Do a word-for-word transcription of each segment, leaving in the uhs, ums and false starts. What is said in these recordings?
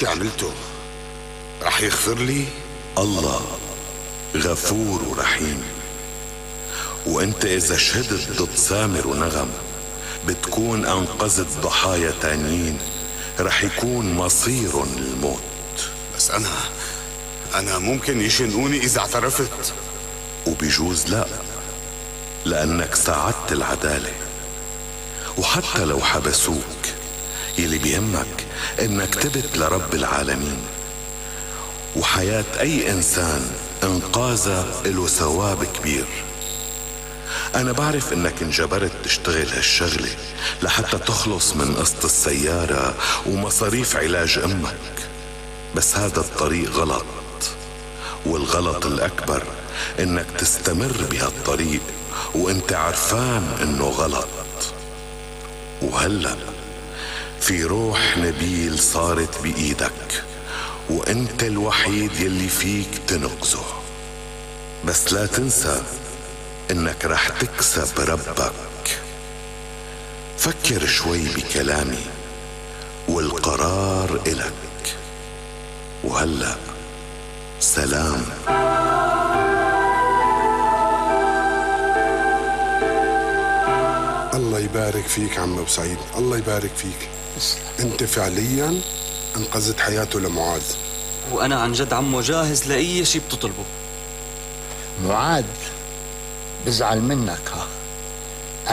اللي عملته رح يغفر لي؟ الله غفور ورحيم. وانت اذا شهدت ضد سامر ونغم بتكون انقذت ضحايا تانيين رح يكون مصيرهم الموت. بس انا انا ممكن يشنقوني اذا اعترفت. وبيجوز لا، لانك ساعدت العدالة. وحتى لو حبسوك يلي بيهمك انك تبت لرب العالمين، وحياة اي انسان انقاذها له ثواب كبير. انا بعرف انك انجبرت تشتغل هالشغلة لحتى تخلص من قسط السيارة ومصاريف علاج امك، بس هذا الطريق غلط، والغلط الاكبر انك تستمر بهالطريق وانت عرفان انه غلط. وهلأ في روح نبيل صارت بإيدك، وانت الوحيد يلي فيك تنقذه. بس لا تنسى انك رح تكسب ربك. فكر شوي بكلامي والقرار إلك. وهلأ سلام. الله يبارك فيك عم أبو سعيد، الله يبارك فيك. انت فعليا انقذت حياته لمعاذ. وانا عن جد عمو جاهز لاي شيء بتطلبه. معاذ بزعل منك، ها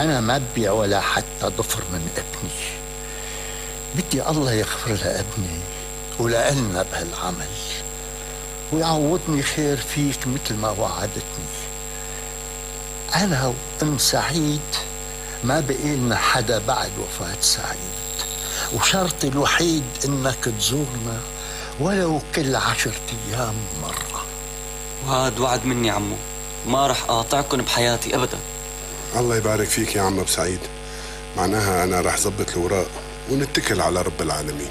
انا ما ببيع ولا حتى ضفر من ابني. بدي الله يغفر لابني ولألنا بهالعمل ويعوضني خير فيك مثل ما وعدتني. انا وام سعيد ما بقي لنا حدا بعد وفاة سعيد، وشرطي الوحيد انك تزورنا ولو كل عشرة ايام مرة. وهاد وعد مني عمو، ما رح اقاطعكم بحياتي ابدا. الله يبارك فيك يا عم أبو سعيد. معناها انا رح زبط الوراق ونتكل على رب العالمين.